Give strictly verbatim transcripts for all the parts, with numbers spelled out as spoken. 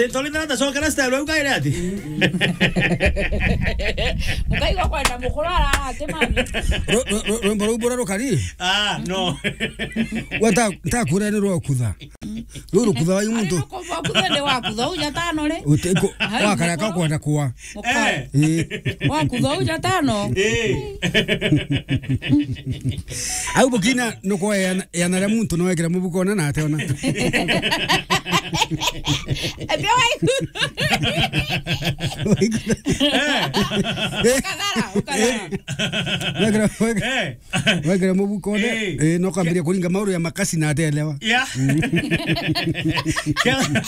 Tondu ndiracokera style au kaire ati. Mukaigua kwenda mukuru arara ati mami. Ru-, ru-, ru-, rwimbo ruu bura rukari? Ah, no. Wata, ntakwira ni rwa kutha. Ruu rukutha wa muntu. Ari rukutha ni wa kutha uja tano ri? Uti-, ku-, ai, wakara mukuru. Ka kwenda kwa. Mukuru. Eh. Eh. Wa kutha uja tano. Eh. Au bukina nuko yana, yana ria muntu no ekira mubuko na na ate ona. Ati waiku. Eh. Ukadhara, ukadhara. Wekira, wekira. Eh. Wekira mubuko ne, eh, eh, no kambiria kuringa mauru ya makasi na atelewa. Yeah. Mm. Kethira,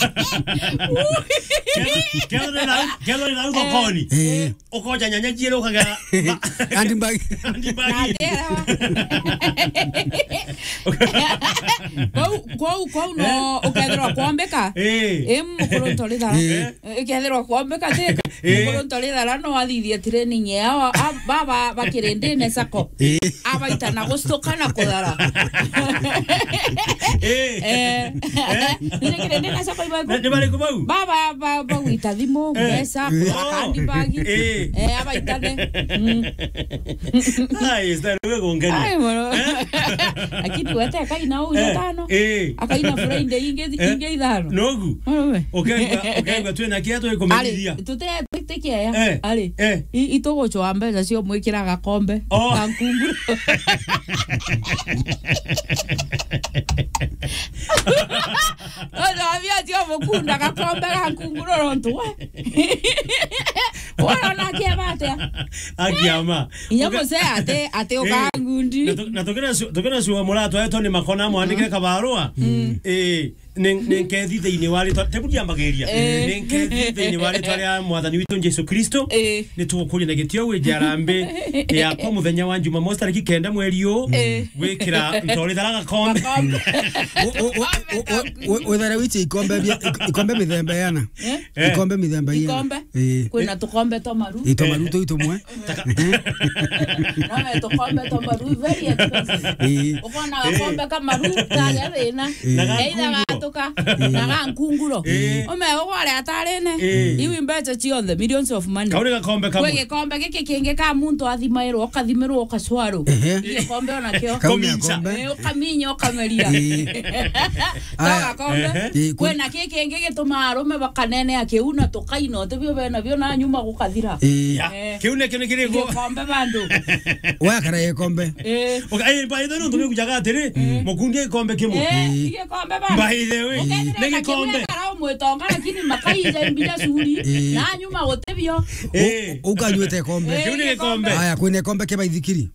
kethira, kethira na, kethira na thokoni. Eh. Ukoja nyanya ciere ukagera. Eh. Handbag. Handbag. Na atelewa. Kwou, kwou, kwou no, eh, ukethirwa kwombeka. Eh. Eh, mukuru ntorithara. Eh. Eh, ikethirwa kwombeka thika. Eh. Mukuru ntorithara no athithia training yao. A, baba bakirindine sako. Eh. Abaita na gustuka na kuthara. Eh. Eh. Eh. Nire kirindine sako ibaku. Ni, ni bariku bau? Baba, ba, bagwita thimu, eh, mbeca, eh, kuthara kandi bagi. Eh. Eh, abaitane. Mm. Ai, style we gongania. Ai, mono. Eh? Lakini wete akaina uja, eh, tano. Eh. Akaina Friday ingi, eh, ingi ithano. Nogu. Wewe. Ukaigua, ukaigua twina kia twi kumenyithia. Ari, tute-, tutikia ya. Eh. Ari. Eh. I-, itugucwa mbeca cio mwikira gakombe. Oh. Ga nkunguro. Ojo abia tio mukunda gakombe ga nkunguro rontu we. Wona kieba atia? Akiama. Inya uka- musee ati, ati, eh, ukangundi. Na tu-, na tukina su-, tukina sua muratwa eto ni makona mwandikire, mm, kabarua. Mm. Eh, nen-, nenkethi thiini wa ritwa. Tebu ndiambagiria. Eh. Nenkethi thiini wa ritwa ria Mwathani witu Jesu Kristo. Eh. Ni tugukuria na gitio wi jarambe yakwa muthenya wa Jumamosi tariki kenda mweri uu. Eh. Gwikira ntorithara gakombe. Gakombe. U-, u-, u-, u-, u-, u-, withare wiche ikombe bia, ik-, ikombe mithemba yana. Eh? Eh. Ikombe mithemba yana. Ikombe? Eh. Kwina tukombe twa maru. Ito maru tu itumwe. Taka- no, tukombe twa maru, very expensive. Eh. Ukona gakombe ka maru, karia thina. Eh. Na ga nkunguro. Either gatuka, eh, na ga nkunguro. Eh. Ume ugware atarine. Eh. Iu mbeca cionthe, millions of money. Kau ni gakombe kamwe. Kwi gikombe giki kingi ka muntu athimairwo, ukathimirwo, ukacwarwo. Ehe. Gikombe ona kio. Kau ni gakombe. Eh, ukaminya, ukameria. Eh. No gakombe. Ehe. Eh, kwina ki kingi gitumaa arume bakanenea kiu na tukaina utibio bena bio na nyuma gukathira. Eh. Ya. Eh. Kiu ni, kiu ni kiriku? Gikombe bandu. Wakara gikombe. Eh. Okay, eh, by the way, nontu nikujaga atiri, mm, mukundia gikombe kimwe. Eh, eh, gikombe bandu. By the way, ukethira ni na gikombe. Kiu ekara umwitonga, lakini makaija mbija curi, eh, na nyuma gutibio. Eh. U-, ukanyuite gikombe. Eh, kiu ni gikombe. Gikombe. Aya, kwina gikombe kia baithikiri.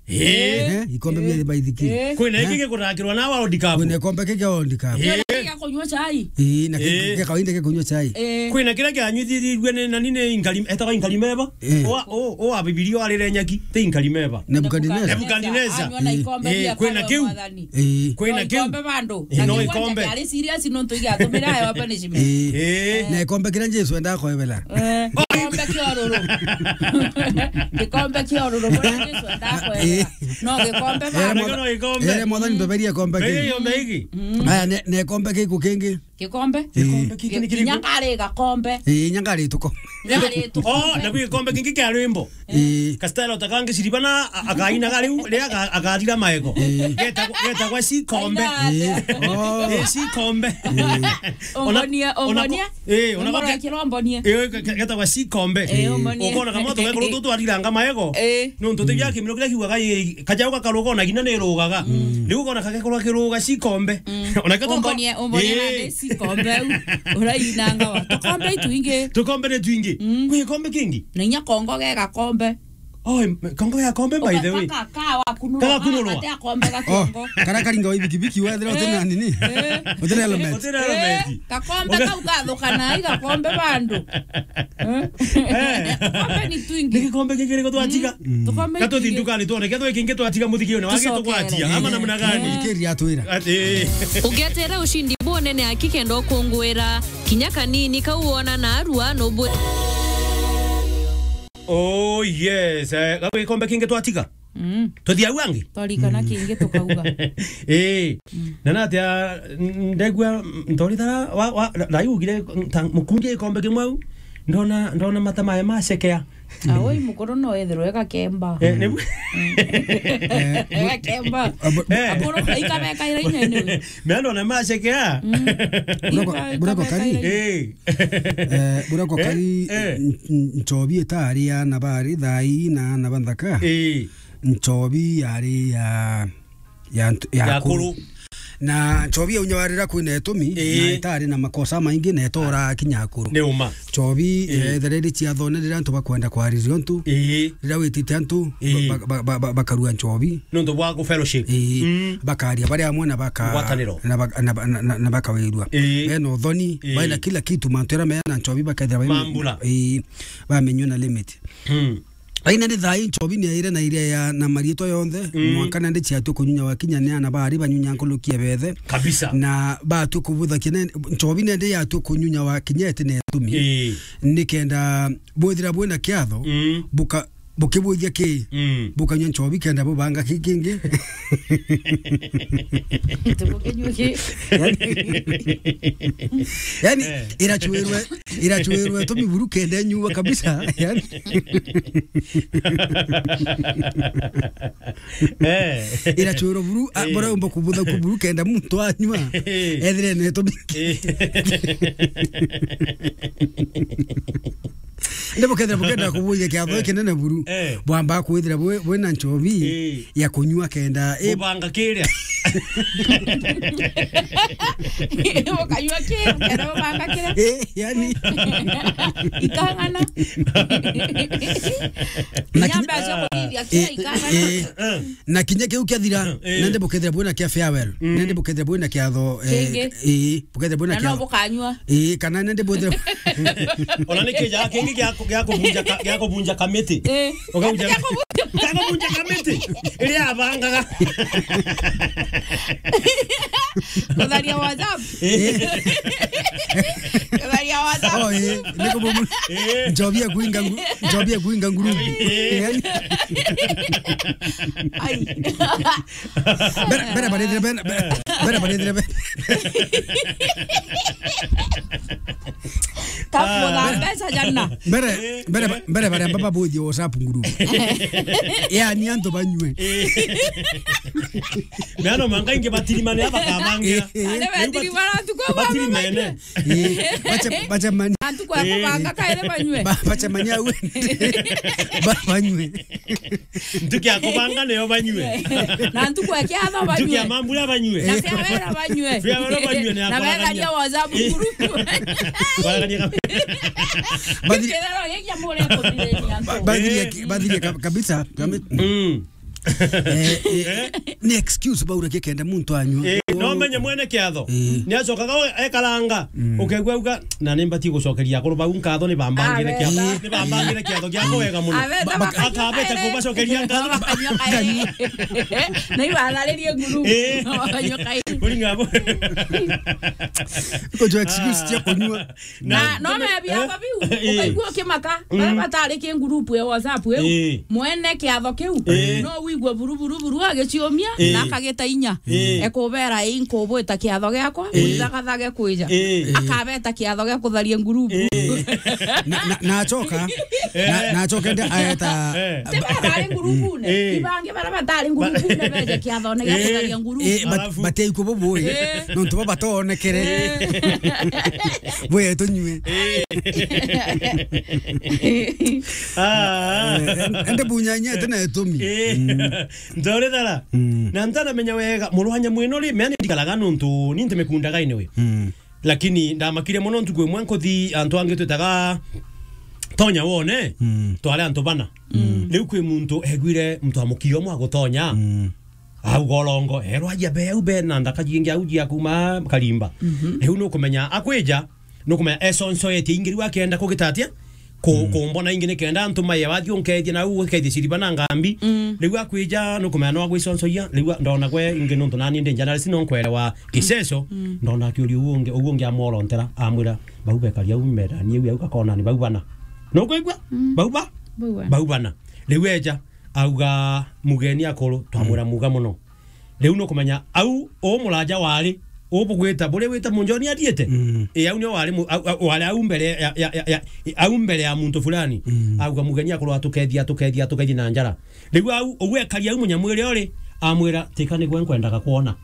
Eh. Eh, ikombe, eh, bia baithikiri. Eh. Kwina, eh, ingi gikuthakirwa na World Cup. Kwina gikombe kia World Cup. Eh. Kwina kia kunywa chai. Eh, na ki-, eh, kia kawaida kia kunywa chai. Eh. Kwina kiria kianyuithirue ni nani ni Inkari-, etagwa Inkarimeba. Eh. Owa, o, owa Bibilia warire nyaki, ti Inkarimeba. Nebukadineza. Nebukadineza. Anyua na ikombe, eh, ria kwina kiu. Mwathani. Eh. Kwina kiu. No ikombe bandu. Eh, no ikombe. Ari serious nontu igatumira ayo punishment. Eh. Eh. Na ikombe kiria Jesu endaga kwebela. Eh, gikombe kia ururu. Gikombe kia ururu, buria Jesu endaga kwebela. Eh. No gikombe ba. Ere motha-, no gikombe. Ere motha nitoberie gikombe ki. Beria gikombe giki. Mm. Aya, ne, ne gikombe giku kingi. Gikombe? Eh. Gikombe giki ni kiriku? Nyangari gakombe. Eh, nyangari tuko. Nyangari tuko. Oh, na gikombe kingi kia rwimbo. Eh. Kastelo takangi siribana, a-, akaina gari u, ria aga-, agarira maego. Eh. Geta, geta gwa si kombe. Aina. Eh. Oh. Eh, si kombe. Eh. Ona, ongonia, ona ko-, ongonia. Eh, ona ko-, Ongora kirombonie. Eh, ke-, ke-, getagwa si kombe. Eh, ombonie. Ukona kama tugekorwo tu twariranga maego. Eh. Nontu tibia kimiro kiria kiugaga, ii, kajau gakaruga ona gina ni rugaga. Mm. Riu ukona kagekorwo kiruga si kombe. Mm. Ona kio tuko-, ombonie, ombonie, eh, na si kombe au. Urainanga wa. Tukombe itwingi. Tukombe ni twingi. Mm. Kwi kombe kingi? Na inya kongo ge gakombe. Oh, em, kongo ya kombe, by the way. Uka-, ka-, ka wakunurwa. Kagakunurwa. Ate akombe ga kiongo. Oh, kara karinga wa ibikibiki wethira utina nini? Eh. Utina helmet. Utina helmet. Eh, gakombe kau gathukana, i gakombe bandu. Eh? Eh. Gakombe ni twingi. Ni gikombe kingi niko twatiga. Mm. Tukombe. Katuthi ndukani tuone, kethwa kingi twatiga muthikio ni wagi tugwatia, ama namna gani? Eh. Kiri atwira. Ati. Ugetere ushindi bunene aki kenda ukungwira. Kinya kanini kau wona na arua nubu. Oh yes, eh, gagwi gikombe kingi twatiga? Mm. Tuthia au angi? Twarikana kingi tukauga. Ii. Mm. Na natia, n-, ndegua, ntorithara, wa, wa, na, na ugire, nta-, mukundia gikombe kimwe au, ndona, ndona mata mae macekea. Ah, ui mukuru no ethirwe gakemba. Eh, ni bu- Eh, bu- Gakemba. Abu- Eh. Akuru, ikabeka ira inya ni. Me ndona macekea. Mm. Burako, Ika-, burako ikabeka kari. Ira inya. Eh. Eh, burako Eh, kari, eh. N-, n-, nchobi itari ya nabari thai na nabanthaka. Eh. Nchobi yari ya, ya ntu-, ya Ya akuru. Akuru. Na nchobi ya unya warira kwina itumi, Ii. Na itari na makosa maingi, na itora kinya akuru. Ni uma. Nchobi, Ii. Eh, ethere iri ciathone riria antu bakwenda kwariria untu, Ii. Riria witite antu, Ii. Ba-, ba-, ba-, ba-, bakarua nchobi. Nuntu bwa ku fellowship. Ii. Mm. Bakaria bari amwe na baka-, Ngwataniro. Na baka-, na ba-, na, na, na bakawirua. Ii. Bena uthoni, Ii. Baina kila kitu, mantu era mena nchobi bakethira bai-, Mambura. Ii, bamenywe na limit. Mm. Aina ni thai nchobi ni aire na iria ya na mariitwa yonthe, Mm. Mwanka nende ciatue kunyunya wakinya ni ana bari banyunya nkuluki ya bethe. Kabisa. Na batue kubuthakia ne-, nchobi nende yatue kunyunya wakinya eti na itumi. Ii. Nikenda bwithira bwina kiatho, Mm. buka-, bukibwithia ki? Mm. Bukanyua nchobi kenda bubanga ki kingi. Tubukinyua ki? Yani, yani, Eh. Irachuirwe Irachuirwe tumi buru kenda nyua kabisa, yani. Eh. Irachuirwe buru, a, Eh. Bora umba kubutha ku buru kenda muntu anyua. Eh. Ethire ne tumi. Eh. Nde bukethira bukenda kubuja kiatho Eh. Kinene buru. Eh. Bwamba kwithira bwe, bwina nchobi. Eh. Ya kunyua kenda, eh. Kubanga kiria. Ukanyua kiria, kenda ubanga kiria. Eh, yani. Ikang'ana. Na kinya- Nyamba cia kuthithia kiria Eh, ikang'ana. Eh, eh. Na kinya kiu kiathira, Eh. Nende bukethira bwina kia farewell. Mm. Nende bukethira bwina kiatho, eh, Kingi. Eh, bukethira bwina Na no kiatho. Bukanyua. Ii, kana nende bwithire. Ona ni kija kingi gia ku-, gia kubunja ka-, gia kubunja kamiti. Ii. Ukauja Gia kubunja. Gia kubunja kamiti. Iria abangaga. Kutharia WhatsApp. Ii. Kutharia WhatsApp. Oh, ii, ni kubumu-, Ii. Nchobi ya kuinga ngu-, nchobi ya kuinga nguru. Ii. Yani. Ai. Mbere, mbere barithire, mbere, mbere, mbere barithire, mbere. Kakuona Ah. Mbeca jana. Mbere, mbere, mbere baria mbaba bothie WhatsApp group. Yani antu banyue. Meano manga ingi batirimane aba kamangira. Eh. Are batirimana tu kwa baba batirimene. Eh, bacha, bacha mani. Antu kwa Eh. Kubanga kaire banyue. Ba-, bacha mani au. Ba-, banyue. Ntuki ya kubanga niyo banyue. Na ntuku ya kiatho banyue. Ntuki ya mambura banyue. Na cia wera banyue. Cia wera banyue ni ya Na kwaragania. Wetharia WhatsApp Eh. Group. Kwaragania kab-, Bathiri- Kirero giki amure kuthiriria antu. Ba-, bathirie Eh. Ki-, bathirie kab-, kabisa. Kabi-, Mm. Eh, eh, ni excuse baura kikenda muntu anyua. Eh, no menye mwene kiatho. Eh. Ni acokaga we-, ekaranga. Mm. Ukegua uga, "Na ni mbatie gucokeria akuru bau nkatho ni bambangire Ah, kiatho. Wega. Ni bambangire kiatho giakwa wega muno." Abeta Ba-, baka-, akabeta kubacokeria nkatho. Bakanyua kairi. Na ibatharirie nguru. Eh. Bakanyua kairi. Kuringa bo. Kujo excuse cia kunyua. Na, Na no meme- mebia eh? Babiu, Eh. Ukaigua ukimaka, Mm. Baria batari ki group ya WhatsApp iu. Eh. Mwene kiatho kiu, Eh. No wigua buru, buru, buru agiciumia, Eh. Na akagita inya. Eh. Ekubera, "Ii, nkubwita kiatho giakwa, Eh. Mwithagathage kwija." Eh. Akabeta kiatho gia kutharia group. Eh. Na, na, na acoka, Eh. Na, na acoka ndi aeta Eh. Ti baba ari group-une, Eh. Ibangi baria batari group-une beje kiathone gia Eh. Kutharia group. Eh, bat-, Alafu? Batei kubo bui. Eh. Nontu bo batonekere. Eh. Bwe tunyue. Eh. Ah, ah. Eh, ende bunyanya tena etumi. Eh. Mm. Ntorethara. Mm. Na ntanamenya wega, murwanya mwino ri, mea ni ndikaraga nontu ni nti mikundaga anyway. Mm. Lakini ndamakire mono ntuku imwe nkuthi antu angi twitaga tonya wone, Mm. Twari antu bana. Mm. Riu kwi muntu egwire muntu wa mukio mwa gutonya. Mm. Au gorongo, erwa aja be, au be na ndaka jingi au jia kuma karimba. Mhm. Riu nukumenya akwija, nukumenya esonsoetie ingi riu akenda kugita atia? Ku-, Mm. Kumbona ingi nikenda antu maye wathi unkethie na u ukethie ciriba na ngambi. Mm. Riu akwija nukumenya no agwiconcoia, riu a-, ndona gwe ingi nontu nani ndi journalist no nkwerewa kiceco, Mm. Ndona akiuria u ungi, u ungi amworontera, amwira, "Bau bekari au mendani au au gakona ni bau bana." Nukwigua? Mm. Bau ba? Bau bana. Bau bana. Riu eja, Auga, "Mugeni akuru, twamwira, mm, muga muno." Riu nukumenya, au, u muraja wari, u bugwita, buria wita Munjoni athiite? Mm. E, au nio wari mu-, au, au, wari au mbere ya, ya, ya, ya, au mbere ya muntu fulani. Mm. Auga, "Mugeni akuru, atukethia, atukethia, atukethia na njara." Riu au, ugwe ekari au munyamwiri uri, amwira, "Tika nigwe nkwendaga kwona."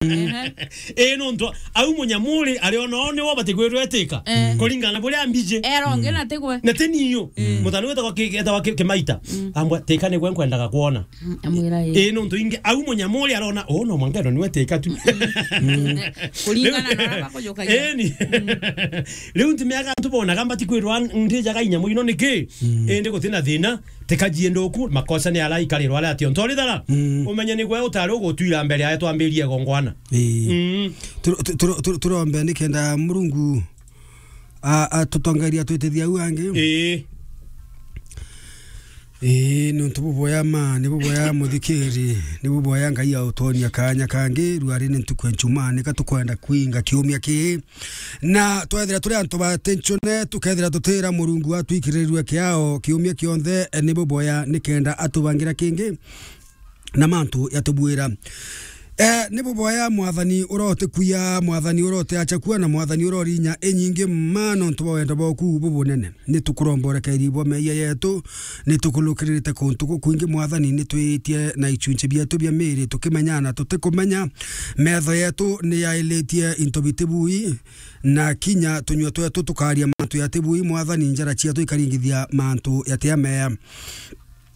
Ehe. E, nontu au munyamwiri ari ona o niwe ubati kwirwa etika. Eh. Kuringana na buria ambiji. Era ungi na tigwe. Na ti niu. Mm. Mutano wetagwa ki-, etagwa ki-, Kimaita. Mm. Ambwa, "Tika nigwe nkwendaga kwona." Mm, amwira ii. Ii, nontu ingi, au munyamwiri arona, "Oh, no mwanka ino niwe tika tu." Mm. Kuringana na aba kujukagia. Eni. Mm. Riu ntimenyaga antu bonaga mbati kwirwa ndijaga inyamu ino niki? Mm. Indi gutina thina, tika jie nduku, makosa ni ara ikarirwa aria atio. Ntori thara, mm, umenye nigwe utari ugutwira mbere aria twambirie igongwana. Ii. Mm. Tur-, tur-, tur-, tur-, turombe nikenda Murungu a, atutongeria twitithia au angi. Ii. Ii, ni untu buboya ma, ni buboya muthikiri, ni buboya Ngai autonia kanya kangi, ruari ni ntuku ya Njumaa, nika tukwenda kwinga kiumia kii. Na twethira turi antu ba attention, tukethira tutira Murungu atwikirirue kiao kiumia kionthe, ni buboya nikenda atubangira kingi na mantu yatubwira. Eh, ni buboya Mwathani urote kuya, Mwathani urote achakua, na Mwathani urorinya inyingi ma nontu bwa wendo bwaku bubunene. Ni tukuromba urekeeri bwa meeyia yetu, ni tukurukiririte kuntu gukwingi Mwathani, ni twiitie na ichunchi bietu bia miiri tukimenya na tutikumenya. Metho yetu ni yailitie into biti bui, na kinya tunyua twetu tukaria mantu yati bui, Mwathani, njara cietu ikaringithia mantu yati ameya.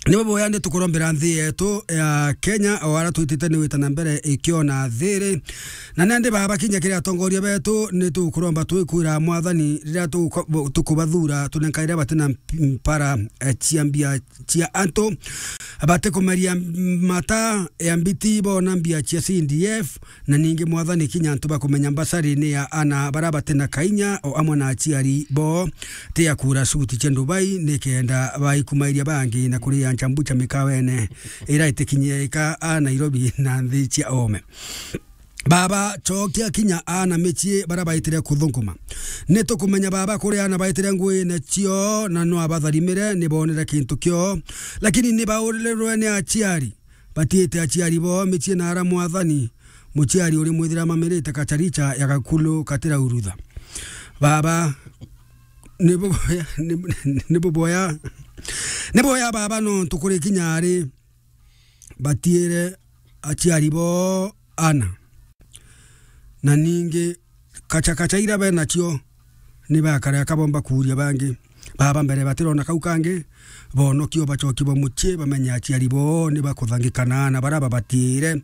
Ni buboya ni tukurombera nthi yetu ya Kenya, o ara twitite ni wita na mbere ikiona thiri. Na nandi Baba, kinya kiri atongoria betu, ni tukuromba twikwira Mwathani, riria tuko-, tukubathura, tunenkaire batina mp-, mpara, eh, cia mbia cia antu, batikumeria mata ya mbiti bona mbia cia C D F, na ningi Mwathani, kinya antu bakumenya mbasari ni ya ana bara batina kainya, o amwe na aciari bo, ti ya kura suti cia Dubai, nikenda baikumairia bangi na kuria nchambu cha mikawene ira itikinyika a Nairobi na nthi cia ome. Baba, chokia kinya ana micii bara baitire kuthunguma. Ni tukumenya, Baba, kuri ana baitire nguine cio, na no abatharimire, ni bonire kintu kio, lakini ni baurirwe ni aciari. Batiite aciari boo micii na ara Mwathani, muciari uri mwithira mamirite kacharicha ya gakulu katiraurutha. Baba, ni buboya, ni, ni buboya, ni boya Baba, nontu kuri kinya ari batiire aciari boo ana. Na ningi kachakacha ira benacio ni bakare akabomba kuuria bangi. Baba, mbere batirona kau kangi, bonokio bachoki ba mucii, bamenye aciari boo ni bakuthangikana na bara babatiire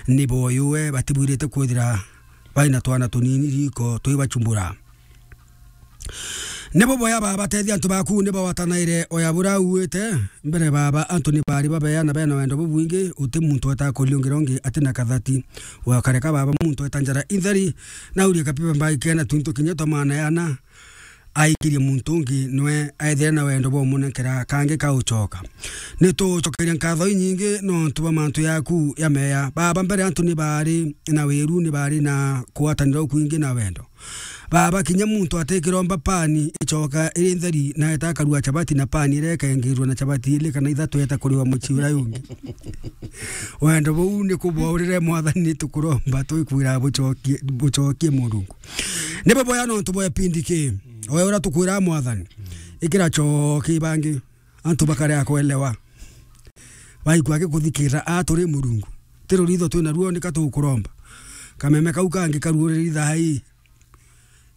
ni boyue, batibwirite kwithira baina twana tunini riko twibachumbura. Ni buboya Baba, tethia antu baku ni bawatanaire oya bura uite. Mbere Baba, antu ni bari babeana bena wendo bubwingi, uti muntu wetaga kuriungira ungi atina kathati. Wakareka Baba muntu weta njara intheri, na urie kapipa mbaikena twintu kinya twa maana yana, aikirie muntu ungi nwe aethire na wendo bwa umunenkera kangi kauchoka. Ni tugucokeria nkatho inyingi nontu bwa mantu yaku ya meya. Baba, mbere antu ni bari na wiru, ni bari na kuatanira ukwingi na wendo. Baba, kinya muntu atikiromba pani ichoka iri ntheri, na eta akarua chabati na pani iria ikengirwa na chabati ili kana ithatu eta kuriwa mucii uria ungi. Wendo buu ni kubwaurire Mwathani, ni tukuromba twikwira buchokie, buchokie Murungu. Ni buboya nontu bwa ipindi ki. Oya uria tukwira Mwathani. Ikira choki bangi. Antu bakarea kwelewa. Baikwa gikuthikira a turi Murungu. Ti ruritho twina ruo, nika tukuromba. Kameme kau kangi karuuriri thaa ii.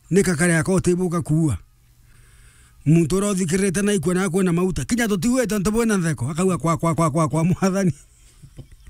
Nika karea ko utibuka kuua. Muntu uria uthikirite na aikua na akwona mauta. Kinya tutiuite ntu bwina ntheko. Akauga, "Kwa, kwa, kwa, kwa, kwa Mwathani."